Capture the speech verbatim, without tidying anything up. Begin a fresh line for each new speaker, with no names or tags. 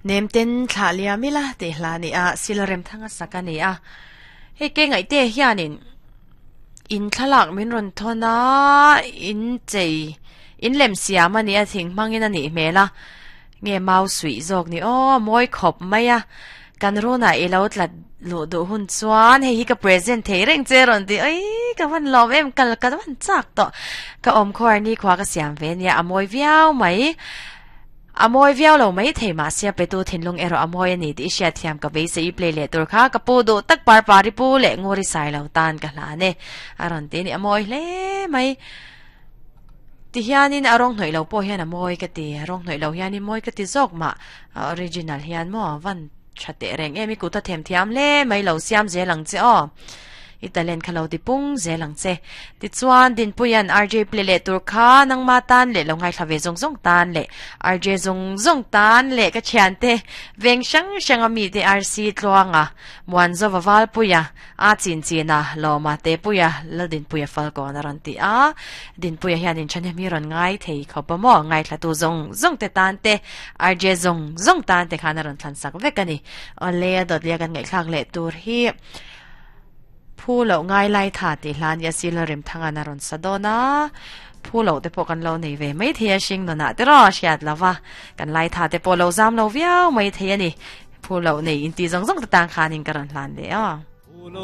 Nem ten thla liamila te hla ni a silarem thanga saka ni a he ke ngai te hianin in thlalak min ron thona in chei in lem siam ani a thing mangin ani hmela nge mau sui zawk ni o moi khop mai a kan rona ilo tlat lu du hun chuan hei hi ka present thei reng che ron ti ai ka van lom em kal ka van chak to ka om khor ni khwa ka siam ve nia amoi viau mai amoi viau lo mai thei ma sia pe tu thinlung ero amoi ani ti sia thiam ka be se i play le tur kha ka pu du tak par pari pu le ngori sai lo tan ka hla ne aron ti ni amoi hle mai ti hianin arong hnoi lo po hian amoi ka ti arong hnoi lo hianin moi ka ti zawk ma original hian mo van thate reng emi ku ta them thiam le mai lo siam zelang che o italen khalo ti pung zelang che ti chuan din puyan rj play le tur kha nang ma tan le lo ngai thlave zong zong tan le rj zong zong tan le ka thian te veng sang sang ami te rc tluanga muan zo wawal puya a chin china loma te puya la din puya fal ko na ran ti a din puya hian in chane mi ron ngai thei khopa mo ngai thla tu zong zong te tan te rj zong zong tan te khana ron thlan sak vek ani ole dot lia kan ngai thlak le tur hi phu lo ngai lai tha ti hlan ya sil rem thanga na ron sadona phu lo te po kan lo nei ve mai thia sing no na te ro siat lawa kan lai tha te po lo zam lo viau mai thia ni phu lo nei in ti zong zong ta tang khanin karan hlan de a
Phu lo